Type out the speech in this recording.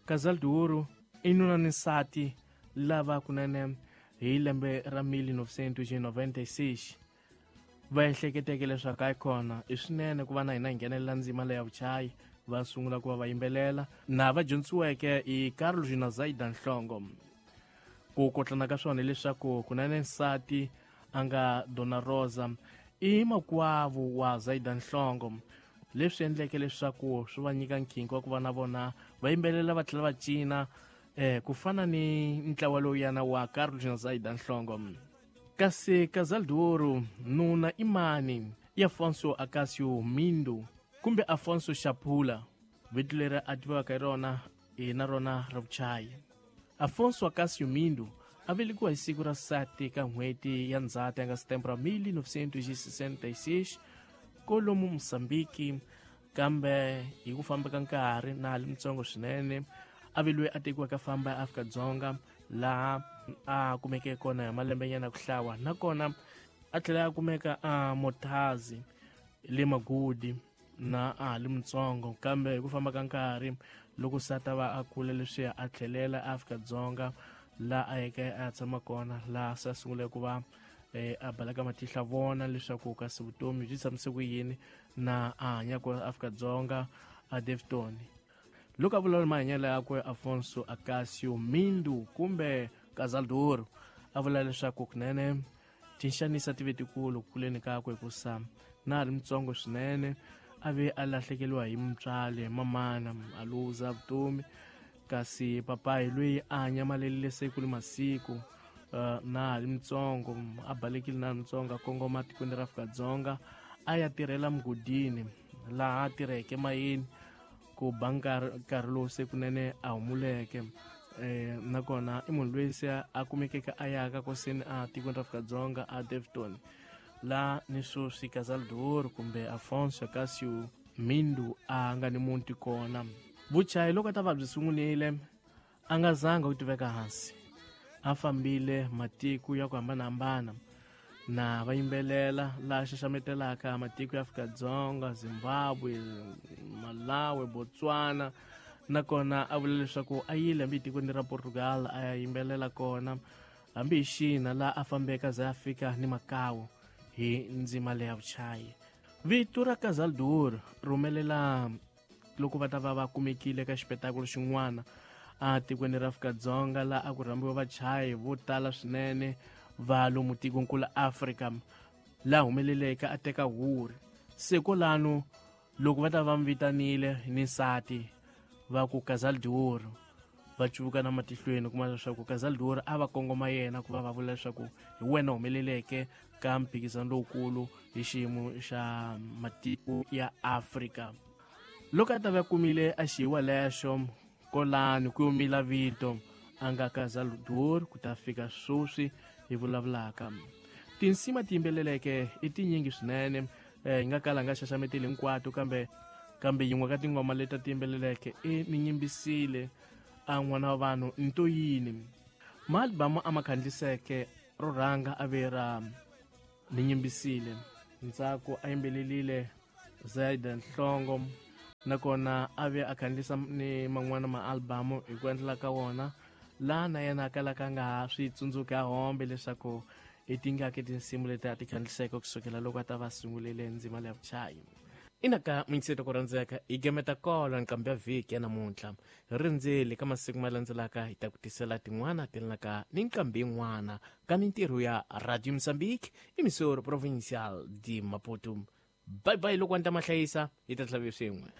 Casal de Ouro i nuna ni nsati lava kunene hi lembe ra 1996 va ehleketeke leswaku a kona i swinene ku va na hina hi nghenelela ndzima leya vuchayi, va sungula ku va va yimbelela na va dyondzisiweke hi Carlos na Zaida Nhlongo. Ku kotlana ka swona hileswaku kunene nsati a nga Dona Rosa i makwavo wa Zaida Nhlongo, leswi endleke leswaku swi va nyika nkhinkhi wa ku va na vona va yimbelela va tlhela va cina ku fana ni ntlawa lowuyana wa Carlos na Zaida Nhlongo. Kasi Casal de Ouro nuna i mani? I Afonso Acácio Mindo kumbe Afonso Chapula, vito leri a tiviwaka hi rona hi na rona ra vuchayi. Afonso Acácio Mindo a velekiwa hi siku ra 7 ka n'hweti ya Ndzhati ya nga setembro 1966 kolomu Mozambique, kambe hi ku famba ka nkarhi na ha li mutsongo swinene a ve loyi a tekiwaka famba ya Afrika-Dzonga laha a kumeke kona hi malembenyana ku hlawa, nakona a tlhela a kumeka a Mothazi le Magudi na a ha li mutsongo, kambe hi ku famba ka nkarhi loko se a ta va a kula leswiya a tlhelela Afrika-Dzonga laha a yeke a ya tshama kona, laha se a sungule ku va a baleka matihla vona leswaku kasi vutomi byi tshamise ku yini na a hanyaka Afrika-Dzonga a Daveyton. Loko a vulavula mahanyelo yakwe Afonso Acácio Mindo kumbe Casal de Ouro a vula leswaku kunene tinxanisa ti ve tikulu kuleni kakwe hikusa na ha ri mutsongo swinene a ve a lahlekeriwa hi mutswali mamana a luza vutomi, kasi papayi loyi a nyamalelile siku ni masiku na ha ri mutsongo a balekile na ha ri mutsongo a kongoma tikweni ra Afrika-Dzonga a ya tirhela mugodini laha a tirheke mayini ku ba nkarhi lowu se kunene a humuleke. Nakona i munhu loyi se a kumekeke a yaka koseni a tikweni ra Afrika-Dzonga a Daveyton, laha ni sweswi Casal de Ouro kumbe Afonso Acácio Mindo a nga ni muti kona. Vuchayi loko a ta va byi sungulile a nga zanga ku tiveka hansi, a fambile matiko ya ku hambanahambana na va yimbelela laha xaxametelaka matiko ya Afrika-Dzonga, Zimbabwe, Malawi, Botswana, nakona a vula leswaku a yile hambi etikweni ra Portugal a ya yimbelela kona, hambi hi Xina laha a fambeke a za a fika ni Macau hi ndzima leya vuchayi. Vito ra Casal de Ouro ri humelela loko va ta va va kumekile ka xipetakulu xin'wana a tikweni ra Afrika-Dzonga laha a ku rhambiwa vachayi vo tala swinene va lomu tikonkulu Afrika, laha humeleleke a teka huri. Se kwalano loko va ta va mi vitanile ni nsati va ku Casal de Ouro, va cuvuka na matihlweni kuma leswaku Casal de Ouro a va kongoma yena ku va va vula leswaku hi wena humeleleke ka mphikizano lowukulu hi xiyimo xa matiko ya Afrika. Loko a ta va kumile a xiyiwa lexo kolani ku yomila vito a nga Casal de Ouro ku ta fika sweswi hi vulavulaka. Tinsimu ti yimbeleleke i tinyingi swinene, hi nga kala nga xaxameteli hinkwato, kambe yin'we ka tingoma leti ti yimbeleleke i ni nyimbisile a n'wana wa vanhu nto yini. Maalibamu a ma khandliseke ro rhanga a ve ra ni nyimbisile, ntsako a yimbelelile Zaida Nhlongo, nakona a ve a khandlisa ni man'wana maalibamu hi ku endlela ka wona laha na yena a kalaka a nga ha swi tsundzuki a hombe leswaku i tingaki tinsimu leti a ti khandliseke kusukela loko a ta va sungulile ndzima leya vuchayi. Inaka mintsheto ku rhandzeka hi gemeta kolo nqambi ya vhiki ya namuntlha hi rindzeli ka masiku ma landzelaka hi ta ku tisela tin'wana ti laka ni nqambi yin'wana ka mintirho ya Radio Mozambique emissora provincial de Maputo. Bye bye loko wa ni ta mahlayisa hi ta tlhela swin'we.